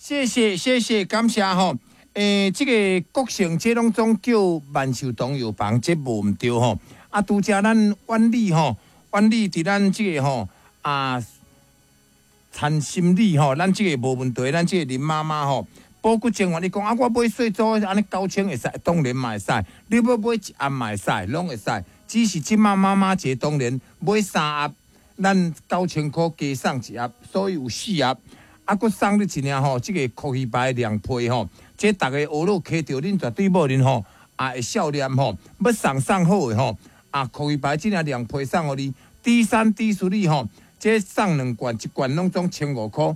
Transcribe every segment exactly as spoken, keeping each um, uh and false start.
謝謝謝謝，感謝吼。欸，這个國成這攏總叫萬壽堂藥房，這無毋對吼。啊，拄才咱婉麗吼，婉麗佇咱這个吼啊，陳心理吼，咱這个無問題，咱這個林媽媽吼，保骨精華，你講啊，我買細組按呢九千會使，當然嘛會使。你欲買一盒嘛會使，攏會使。只是這馬媽媽節當然買三盒，咱九千箍加送一盒，所以有四盒。啊，閣送你一領吼，這个酷魚牌涼皮吼，這逐个學樂揢著恁絕對某恁吼，也會笑臉吼，欲送送好的吼，啊，酷魚牌這領涼皮送予你，D 三 D 四吼，這送兩罐，一罐攏總千五箍。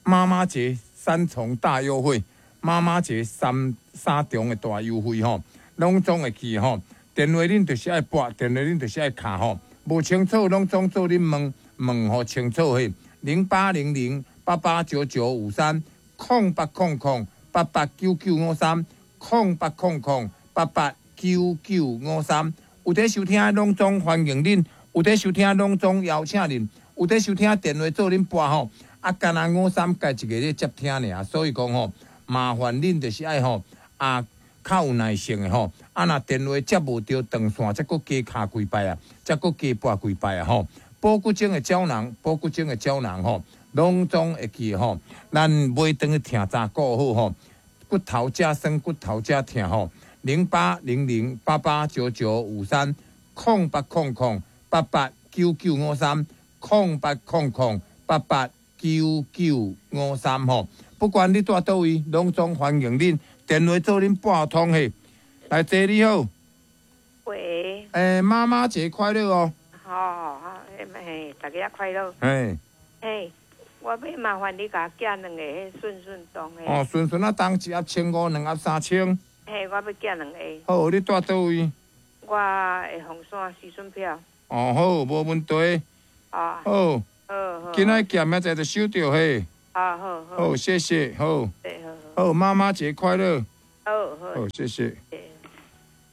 媽媽節三重大優惠，媽媽節三三重的大優惠吼，攏總會記吼。電話恁就是愛撥，電話恁就是愛敲吼，無清楚攏總做恁問問予清楚嘿。零八零零八八九九五三，空八空空八八九九五三，空八空空八八九九五三。有佇收聽攏總歡迎恁，有佇收聽攏總邀請恁，有佇收聽電話做恁撥吼。啊，干焦五三家一个咧接聽爾，所以講吼，麻煩恁就是愛吼啊，較有耐性的吼。啊，若電話接無著斷線，才閣加敲幾擺啊，才閣加撥幾擺啊吼。保骨精的膠囊，保骨精的膠囊吼，攏總會記吼。咱買轉去疼早顧好吼，骨頭遮酸，骨頭遮疼吼。零八零零八八九九五三，空八空空八八九九五三，空八空空八八九九五三吼。不管你蹛佗位，攏總歡迎恁電話做恁撥通嘿。來，姐你好。喂。欸，媽媽節快樂哦。好，好，嘿，大家快樂。嘿。嘿，我欲麻煩你共我寄兩个彼順順當的。哦，順順仔當一盒千五，兩盒三千。嘿，我欲寄兩个。好，你蹛佗位？我會鳳山時順票。哦，好，無問題。啊。好。好好。今仔寄明仔載就收著嘿。啊，好好。好，謝謝，好。好。好，媽媽節快樂。好好。好，謝謝。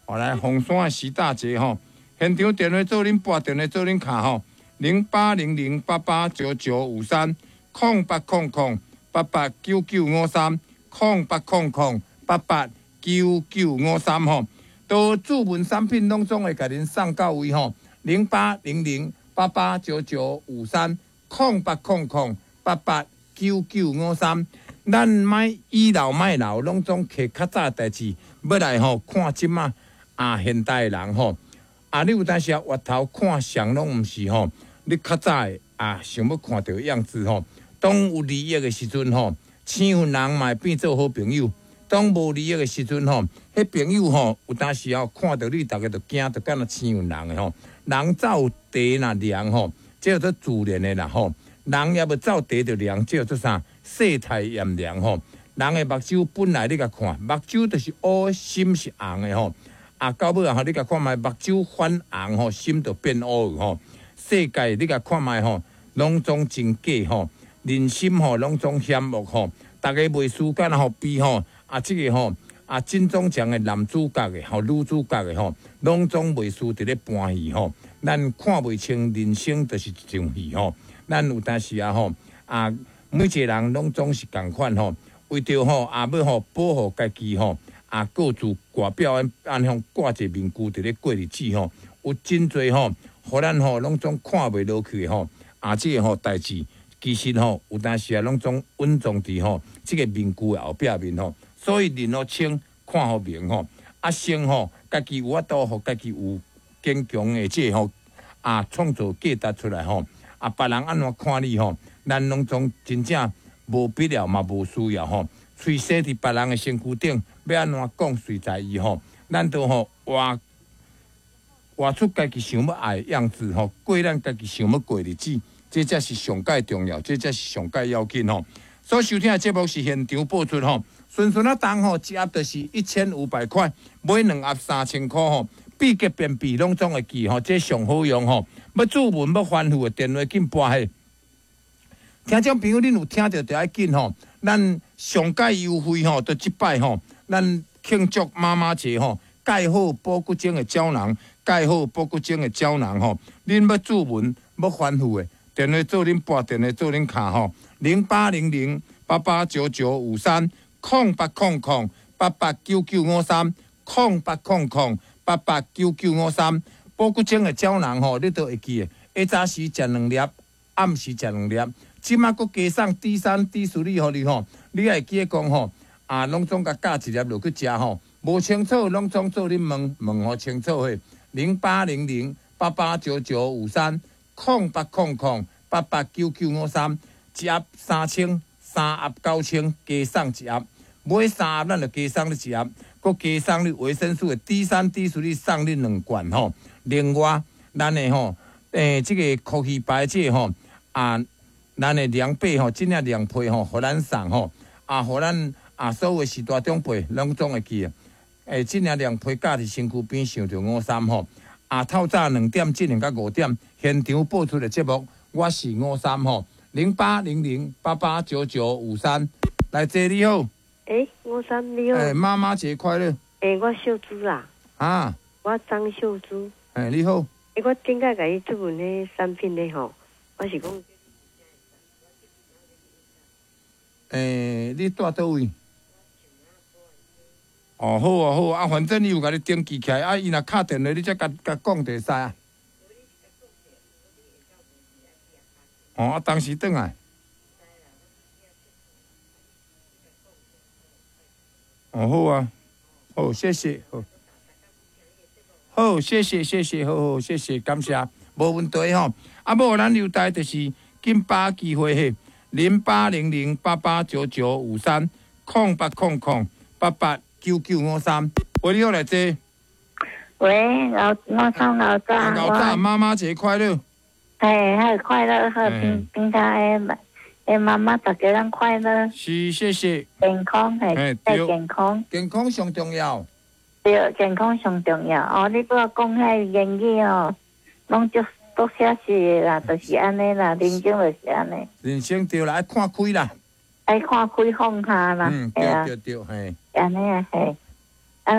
好，來鳳山的徐大姐吼，現場電話做恁撥，電話做恁敲吼，零八零零八八九九五三，空八空空八八九九五三，空八空空八八九九五三吼，都注文產品攏總會共恁送到位吼，零八零零八八九九五三，空八空空八八九九五三。咱莫倚老賣老，攏總摕較早代誌，欲來吼看這馬啊現代人吼，啊你有當時啊回頭看誰攏毋是吼，你較早的啊想欲看著樣子吼，當有利益的時陣吼，生分人嘛會變做好朋友；當無利益的時陣吼，彼朋友吼有當時吼看著你，逐家就驚，就敢若生分人的吼。人走茶若涼吼，這叫做自然的啦吼。人也欲走茶就涼，這叫做啥？世態炎涼吼。人的目睭本來你共看，目睭就是烏，心是紅的吼。啊，到尾啊，你共看覓，目睭反紅吼，心就變烏吼。世界你共看覓吼，攏總真假吼，人心吼攏總險惡吼。逐家袂輸敢若吼比吼，啊，這个吼啊，金鐘獎的男主角的吼，女主角的吼，攏總袂輸佇咧搬戲吼。咱看袂清人生就是一場戲吼。咱有當時啊吼啊，每一個人攏總是仝款吼，為著吼啊欲吼保護家己吼啊，各自外表按按樣掛一個面具佇咧過日子吼，有真濟吼，予咱吼攏總看袂落去的吼啊，這个吼代誌其實吼有當時啊攏總隱藏佇吼這个面具的後壁面吼，所以認予清，看予明吼，啊先吼家己有法度，予家己有堅強的這个吼啊創造價值出來吼。啊，別人按怎看你吼，咱攏總真正無必要嘛，無需要吼。喙踅佇別人的身軀頂，欲按怎講隨在伊吼。咱都吼活活出家己想欲愛的樣子吼，過咱家己想欲過日子，這才是上蓋重要，這才是上蓋要緊吼。所收聽的節目是現場播出吼，順順仔當吼，一盒就是一千五百塊，買兩盒三千箍吼。秘籍便秘攏總會記吼，這上好用吼。欲注文欲反覆的電話緊撥彼。聽眾朋友，恁有聽著就愛緊吼。咱上蓋優惠吼，就這擺吼，咱慶祝媽媽節吼，蓋好保骨精的膠囊，蓋好保骨精的膠囊吼。恁欲注文欲反覆的，電話做恁撥，電話做恁敲吼，零八零零八八八九九五三，空八空空八八九九五三，空八空空八八九九五三。保骨精的膠囊吼，你都會記得。下早時食兩粒，暗時食兩粒。這馬閣加送 D 三、D 四予你吼，你愛記得講吼，啊，攏總共加一粒落去食吼。無清楚，攏總做恁問問予清楚的。零八零零八八九九五三，空八空空八八九九五三，一盒三千，三盒九千，加送一盒。買三盒咱就加送你一盒，閣加送你維生素的 D 三、D 四，你送你兩罐吼。另外，咱的吼，欸，這个科技牌這個吼，啊，咱的涼被吼，這領涼被吼，予咱送吼，啊，予咱啊，所有序大長輩攏總會記得。欸，這領涼被架佇身軀邊想著五三吼，啊，透早兩點進行到五點，現場播出的節目，我是五三吼，零八零零八八九九五三，來坐你好。欸，五三你好。欸，媽媽節快樂。欸，我秀珠啦。啊。我張秀珠。欸，你好。欸，我頂擺共你質問彼產品的吼，我是講。欸，你住佗位？哦，好啊，好啊，啊，反正伊有共你登記起來，啊，伊若敲電話，你才共共講就會使啊。哦，啊，當時轉來。哦，好啊，好，謝謝，好，好，謝謝，謝謝，好好，謝謝，感謝，無問題吼。啊，無咱留待就是緊把握機會嘿，零八零零八八九九五三，空八空空八八九九五三。喂，你好，來坐。喂，老我三老早。老早，媽媽節快樂。嘿，好快樂，好平平常的。欸，媽媽，大家攏快樂。是，謝謝。健康係，對，健康。健康上重要。對，健康上重要。哦，你拄仔講彼言語哦，攏足足寫實的啦，就是按呢啦，人生就是按呢。人生對啦，愛看開啦。愛看開放下啦。嗯，對對對，嘿。按呢啊，嘿。